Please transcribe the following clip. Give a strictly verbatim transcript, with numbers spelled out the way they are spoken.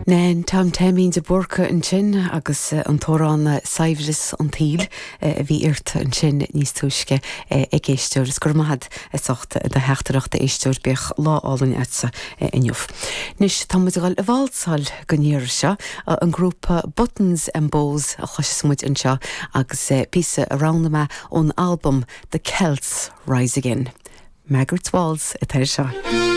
Nen Tom Taimín de Búrca ansin agus eh, an t-amhrán Saibhreas an tSaoil eh, a bhí ort ansin níos túisce eh, ag éisteoir is gur mahad socht de heachtarachta éisteoir bíodh lá álainn agatsa inniu. Anois tá muid ag válsáil go níor seo an grúpa Buttons and Bows a chloisfidh muid anseo agus píosa a roghnaigh mé ón album The Celts Rise Again. Margaret's Waltz atá seo.